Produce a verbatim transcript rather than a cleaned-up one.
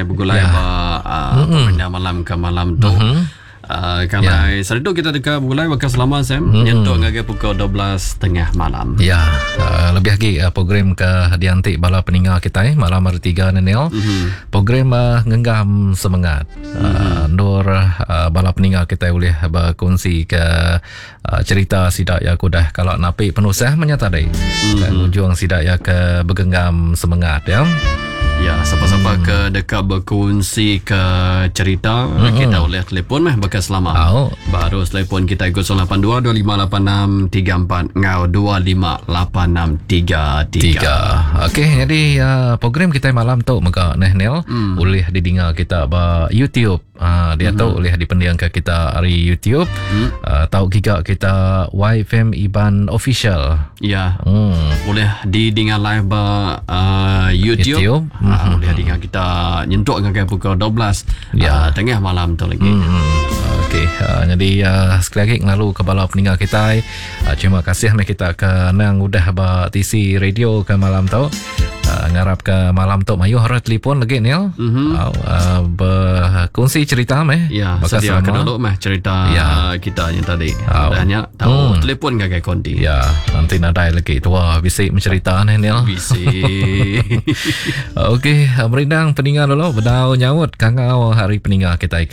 kita begulai Ya. ba uh, mm malam ke malam tu. Mhm. Uh, kalau yeah. Saritu kita deka begulai baka selama Sam mm-hmm. nyentuk ngagai pukul dua belas tiga puluh malam. Ya, uh, lebih lagi uh, program ke diantik bala peninga kita eh, malam hari tiga ni Neil. Mm-hmm. Program uh, ngenggam semangat. Mm-hmm. Uh, nur uh, bala peninga kita boleh berkongsi ke uh, cerita sidak ya kudah kalau napi penusah menyata tadi. Mm-hmm. Dan ujung sidak ya ke bergenggam semangat ya. Ya, siapa-siapa hmm. ke dekat berkongsi ke cerita, hmm. kita boleh telefon meh bekas selama. Oh. Baru telefon kita kosong lapan dua dua lima lapan enam tiga empat ngau dua lima lapan enam tiga tiga. Tiga. Okey, jadi uh, program kita malam tu mega neh Neil hmm. boleh didengar kita ba YouTube. Uh, dia hmm. tu boleh dipendiang ke kita hari YouTube. Hmm. Uh, tahu giga kita Y F M Iban Official. Ya. Hmm. Boleh didengar live ba uh, YouTube. YouTube. Uh, boleh dengar kita nyentuk dengan pukul dua belas Ya. uh, tengah malam tu lagi. Hmm. Okey, uh, jadi uh, sekali lagi ngelalu ke bala peninggal kita. Uh, terima kasih meh kita ke nang udah ba T C radio ke malam tu. Uh, ngarap ke malam tu mayuh orang telefon lagi Neil. Mhm. Uh, uh, berkongsi cerita meh. Ya, Bakal sedia selama. ke dulu meh cerita Ya. kita yang tadi. Oh. Udahnya tahu Hmm. telefon gagai konti. Ya, nanti nadai lagi tua bisik mencerita ni Neil. Bisi. Okey, merindang peninggal dulu bedau nyaut kangau hari peninggal kita ke